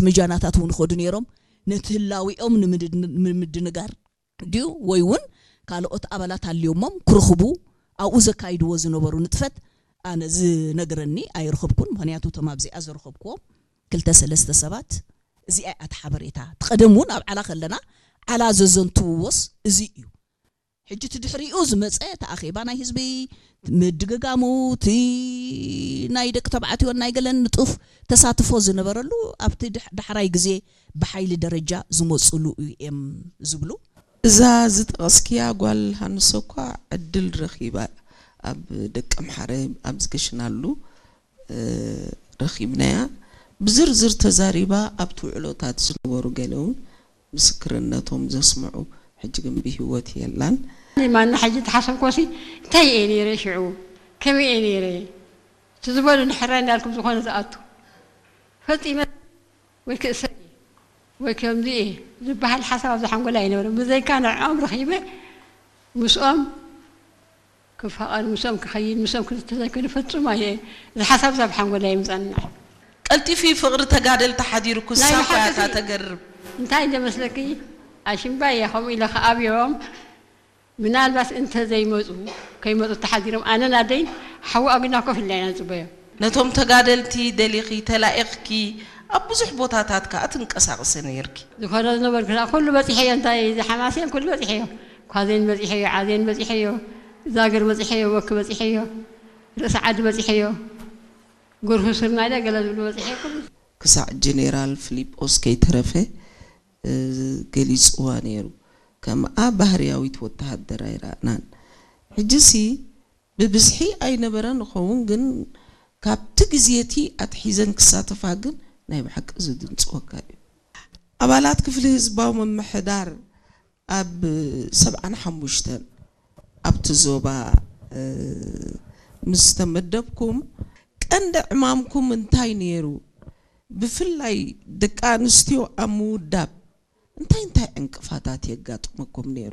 ምጃናታት እውን ይኸዱ ነይሮም። ነቲ ህላዊኦም ንምድን-፣ ንምድንጋር ድዩ ወይ እውን ካልኦት ኣባላት ኣልዮሞም ክረኽቡ ኣብኡ ዘካይድዎ ዝነበሩ ንጥፈት ኣነ ዝነግረኒ ኣይረኸብኩን። ምኽንያቱ እቶም ኣብዚኣ ዝረኸብክዎም ክልተ ሰለስተ ሰባት እዚኣ እያ እቲ ሓበሬታ። እቲ ቀደም እውን ኣብ ዓላ ከለና ዓላ ዘዘንትውዎስ እዚ እዩ። ሕጂ እቲ ድሕሪኡ ዝመፀ እቲ ኣኼባ ናይ ህዝቢ ምድግጋሙ፣ እቲ ናይ ደቂ ተባዕትዮን ናይ ገለን ንጡፍ ተሳትፎ ዝነበረሉ ኣብቲ ድሕ-፣ ዳሕራይ ግዜ ብሓይሊ ደረጃ ዝመፁሉ እዮም ዝብሉ። እዛ ዝጠቐስክያ ጓል ሃንሶ እኳ ዕድል ረኺባ ኣብ ደቂ ኣምሓረ ኣብ ዝገሽናሉ እ፣ ረኺብናያ። ብዝርዝር ተዛሪባ ኣብቲ ውዕሎታት ዝነበሩ ገለ እውን ምስክርነቶም ዘስምዑ ሕጂ ግን ብህይወት የላን። ማና ሕጂ ተሓሰብኮሲ እንታይ እየ ነይረ ሽዑ? ከመይ እየ ነይረ? እቲ ዝበሉ ንሕራይ እንዳልኩም ዝኾነ ዝኣቱ ፈጺመ ወይ ክእሰር እየ ወይ ከምዚ እየ ዝበሃል ሓሳብ ኣብዚ ሓንጎላይ ኣይነበረን። ብዘይካ ንዕኦም ረኺበ ምስኦም ክፋቐር፣ ምስኦም ክኸይድ፣ ምስኦም ክዝተ ዘይኮይኑ ፈጹም ኣየ-፣ እዚ ሓሳብ እዚ ኣብ ሓንጎላይ ኣይምጻእንን። ቀልጢፊ ፍቕሪ ተጋደልቲ ሓዲሩኪ ናይ ንሳ እኮ እያ ብሓቂ እታ ሲ-፣ ተገርም። እንታይ እንደ መስለኪ ኣሽምባይ እያ ከምኡ ኢለ ከኣብዮም ምናልባት እንተ ዘይመጹ ከይመጹ ተሓዲሮም ኣነን ኣደይን ሓዊ ኣጉና ኮፍ ኢልና ኢና ንጽበዮም። ነቶም ተጋደልቲ ደሊኺ ተላኢኽኪ ኣብ ብዙሕ ቦታታት ከኣ ትንቀሳቐሲ ነይርኪ። ዝኾነ ዝነበርኩ ኩሉ በጺሐዮ፣ እንታይ እዚ ሓማሴን ኩሉ በጺሐዮ፣ ኳዜን በጺሐዮ፣ ዓዜን በጺሐዮ፣ ዛግር በጺሐዮ፣ ወኪ በጺሐዮ፣ ርእሲ ዓዲ በጺሐዮ፣ ጎርሁ ስርናይ ገለ ዝብሉ በጺሐዮ ኩሉ። ክሳዕ ጀኔራል ፊሊጶስ ከይተረፈ፣ እ፣ ገሊጽዋ ነይሩ። ከምኣ ባህርያዊት ወተሃደር ኣይረኣናን። ሕጂሲ ብብዝሒ ኣይነበረን ይኸውን፣ ግን ካብቲ ግዜ እቲ ኣትሒዘን ክሳተፋ ግን ናይ ብሓቂ ዝድንጽወካ እዩ። ኣባላት ክፍሊ ህዝባዊ ምምሕዳር ኣብ ሰብዓን ሓሙሽተን ኣብቲ ዞባ፣ እ፣ ምስ ተመደብኩም ቀንዲ ዕማምኩም እንታይ ነይሩ? ብፍላይ ደቂ ኣንስትዮ ኣብ ምውዳብ እንታይ እንታይ ዕንቅፋታት የጋጥመኩም ነይሩ?